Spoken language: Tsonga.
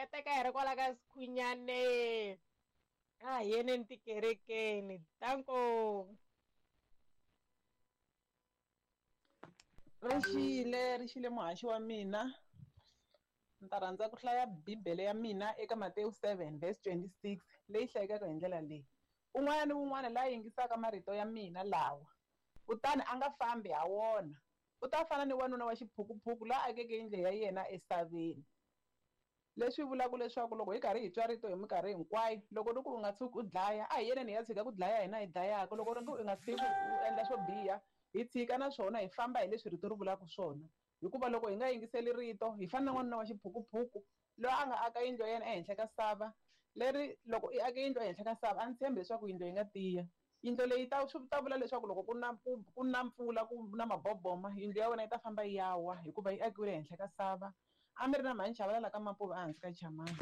Kateka hi ri kwala ka Sikhunyane. A hi yeneni tikerekeni. Danko. Ri xile ri xile muhaxi wa mina ni ta rhandza ku hlaya bibele ya mina eka Matewu 7 verse 26 leyi hlayekaka hi ndlela leyi un'wana ni un'wana la yingisaka marito ya mina lawa kutani a nga fambi ha wona u ta fana ni wanuna wa xiphukuphuku la akeke yindlu ya yena esaveni. Leswi vulaka leswaku loko hi karhi hi twa rito hi minkarhi hinkwayo loko ri ku u nga tshuki u dlaya a hi yeneni hi ya tshika ku dlaya hina hi dlayaka loko ri ku u nga tshiki u endla swo biha hi tshika naswona hi famba hi leswi rito ri vulaka swona hikuva loko hi nga yingiseli rito hi fana na n'wanuna wa xiphukuphuku loyi a nga aka yindlu ya yena ehenhla ka sava leri loko i ake yindlu ehenhla ka sava a ndzi tshembi leswaku yindlu yi nga tiya yindlu leyi ta swi ta vula leswaku loko ku na ku na mpfula ku na maboboma yindlu ya wena yi ta famba yi ya wa hikuva yi akiwile ehenhla ka sava. A mi ri na mhani Chavalala ka Mapuve ehansi ka Chamani.